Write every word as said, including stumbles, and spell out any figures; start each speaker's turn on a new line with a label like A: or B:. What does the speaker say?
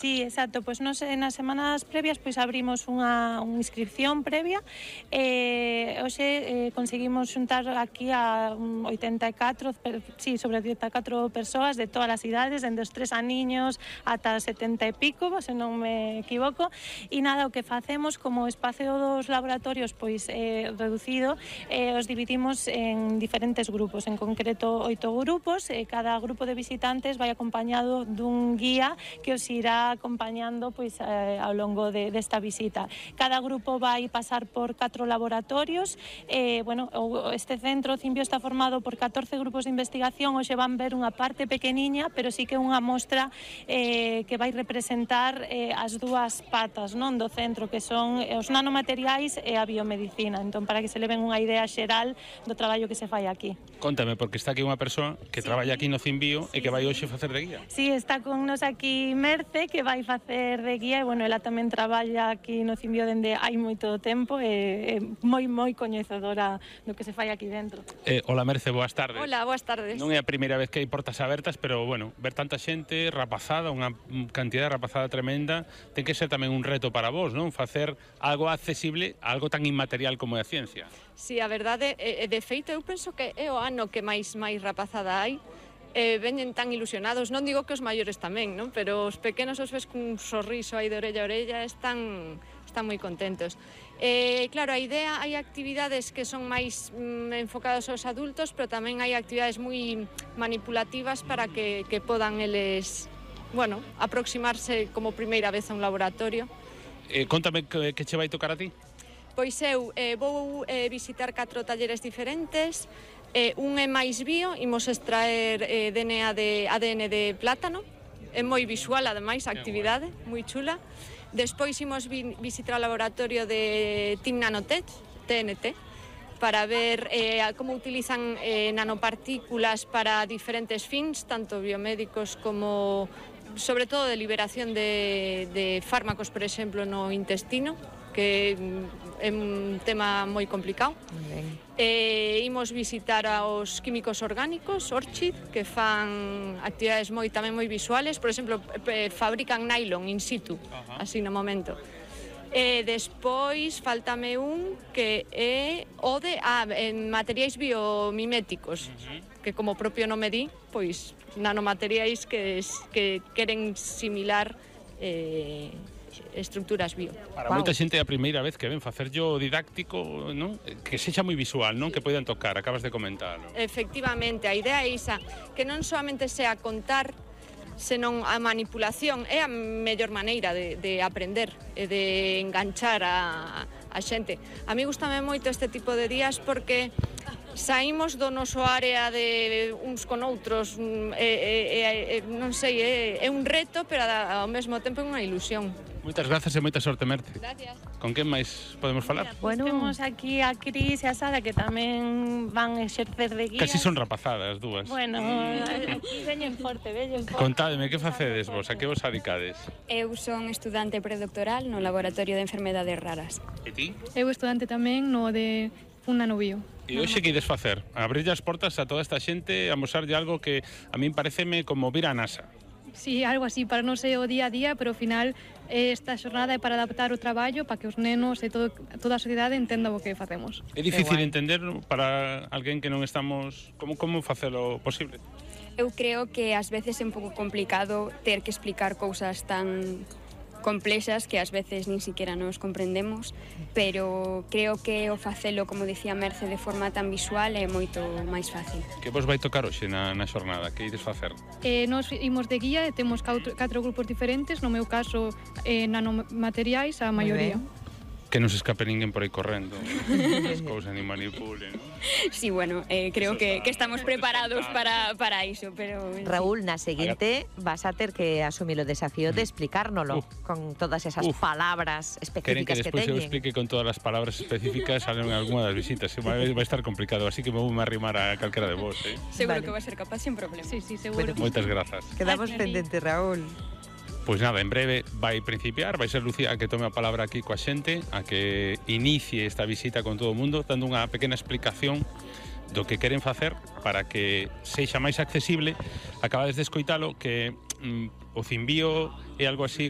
A: Sí, exacto, pois nos nas semanas previas pois abrimos unha, unha inscripción previa e hoxe eh, conseguimos xuntar aquí a oitenta e catro, sí, sobre oitenta e catro persoas de todas as idades, dende os tres aniños ata setenta e pico, se non me equivoco, e nada, o que facemos como espacio dos laboratorios pois eh, reducido, eh, os dividimos en diferentes grupos, en concreto oito grupos, e cada grupo de visitantes vai acompañado dun guía que os irá acompañando pois eh, ao longo de, desta visita. Cada grupo vai pasar por catro laboratorios. Eh, bueno, este centro Cimbio está formado por catorce grupos de investigación. Hoxe van ver unha parte pequeniña, pero sí que unha mostra eh, que vai representar eh, as dúas patas, non, do centro, que son os nanomateriais e a biomedicina. Entón, para que se leven unha idea xeral do traballo que se fai aquí.
B: Contame, porque está aquí unha persoa que sí. traballa aquí no Cimbio sí, e que vai hoxe facer de guía.
A: Sí, está con nos aquí Merce, que vai facer de guía, e, bueno, ela tamén traballa aquí no Cimbio dende hai moito tempo e é moi, moi coñecedora do que se fai aquí dentro.
B: Eh, hola, Merce, boas tardes.
C: Hola, boas tardes.
B: Non é a primeira vez que hai portas abertas, pero, bueno, ver tanta xente rapazada, unha cantidad de rapazada tremenda, ten que ser tamén un reto para vos, non? Facer algo accesible, algo tan inmaterial como é a ciencia.
C: Sí, a verdade, e, de feito, eu penso que é o ano que máis máis rapazada hai. Eh, veñen tan ilusionados, non digo que os maiores tamén, non? Pero os pequenos os ves cun sorriso aí de orella a orella, están, están moi contentos. Eh, claro, a idea, hai actividades que son máis mm, enfocadas aos adultos, pero tamén hai actividades moi manipulativas para que, que podan eles, bueno, aproximarse como primeira vez a un laboratorio.
B: Eh, contame que, que che vai tocar a ti.
C: Pois eu eh, vou eh, visitar catro talleres diferentes. Eh, un é máis bio, imos extraer eh, D N A de, A D N de plátano, é moi visual ademais a actividade, moi chula. Despois imos vi, visitar o laboratorio de Team Nanotech, T N T, para ver eh, como utilizan eh, nanopartículas para diferentes fins, tanto biomédicos como, sobre todo, de liberación de, de fármacos, por exemplo, no intestino, que é un tema moi complicado. Eh, imos visitar aos químicos orgánicos, Orchid, que fan actividades moi tamén moi visuales, por exemplo, eh, fabrican nylon in situ, uh-huh. así no momento. E despois faltame un que é o de ah, en materiais biomiméticos, uh-huh. que como propio nome di, pois nanomateriais que, que queren similar eh, estructuras bio.
B: Para wow. moita xente é a primeira vez que ven facerllo didáctico, non? Que sexa moi visual, non? Que poidan tocar, acabas de comentarlo.
C: Efectivamente, a idea é esa, que non solamente sea contar, senón a manipulación é a mellor maneira de, de aprender e de enganchar a, a xente. A mí gustame moito este tipo de días porque saímos do noso área de uns con outros, e, e, e, non sei, é, é un reto, pero ao mesmo tempo é unha ilusión.
B: Moitas grazas e moita sorte, Merce.
C: Gracias.
B: Con quen máis podemos falar?
A: Mira, pues bueno, temos aquí a Cris e a Sara, que tamén van exercer de guías.
B: Casi son rapazadas, dúas.
A: Bueno, aquí veñen forte, veñen forte.
B: Contádeme, que facedes vos? A que vos adicades?
D: Eu son estudante predoctoral no Laboratorio de Enfermedades Raras.
B: E ti?
E: Eu estudante tamén no de un nanobio.
B: E hoxe que ides facer? Abrirlle as portas a toda esta xente, a mostrar algo que a min pareceme como vir a NASA.
E: Sí, algo así, para non ser o día a día, pero ao final esta xornada é para adaptar o traballo para que os nenos e todo, toda a sociedade entenda o que facemos.
B: É difícil entender para alguén que non estamos... Como, como facelo posible?
D: Eu creo que ás veces é un pouco complicado ter que explicar cousas tan complexas que ás veces nin siquiera nos comprendemos, pero creo que o facelo, como dicía Merce, de forma tan visual é moito máis fácil.
B: Que vos vai tocar hoxe na, na xornada? Que ides facer?
E: Eh, nos imos de guía e temos catro, catro grupos diferentes, no meu caso eh, nanomateriais a maioría.
B: Que non se escape ninguén por aí correndo, as cousas ni manipulen.
D: Sí, bueno, eh, creo que, que estamos preparados para, para iso, pero...
F: Raúl, na seguinte vas a ter que asumir o desafío de explicárnolo uh, con todas esas uf, palabras específicas que teñen.
B: Queren que despois eu explique con todas as palabras específicas salen en algunha das visitas, vai, vai estar complicado, así que me vou me arrimar a calquera de vos, eh?
D: Seguro vale. que vai ser capaz sin problema.
E: Sí, sí, seguro.
B: Bueno, moitas grazas.
F: Quedamos pendentes, Raúl.
B: Pois nada, en breve vai principiar, vai ser Lucía a que tome a palabra aquí coa xente, a que inicie esta visita con todo o mundo, dando unha pequena explicación do que queren facer para que sexa máis accesible. Acabades de escoitalo que mm, o cimbío é algo así